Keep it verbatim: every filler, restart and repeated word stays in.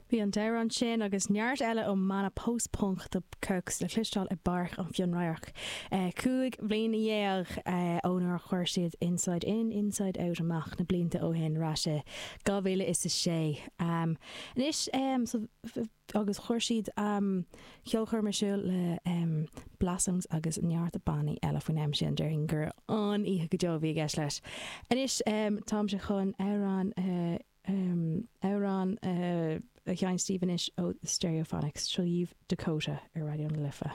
Bhí an t-amhrán sin agus neart eile ó mbanna post-punk The Kooks le cloisteáil i bPáirc an Fhionnradhairc. Cúig bhliana dhéag ó nuair a chuir siad Inside In, Inside Out amach na blianta ó shin ar ais i dhá mhíle is a sé. Anois agus chuir siad ceolchoirm ar siúl le Blossoms agus neart bannaí eile faoin am sin déarfainn gur an-oíche go deo a bhí i gceist leis. Anois táimse chun amhrán amhrán a sheinnt daoibh anois ó Stereophonics seo dhaoibh Dakota ar Raidió na Life.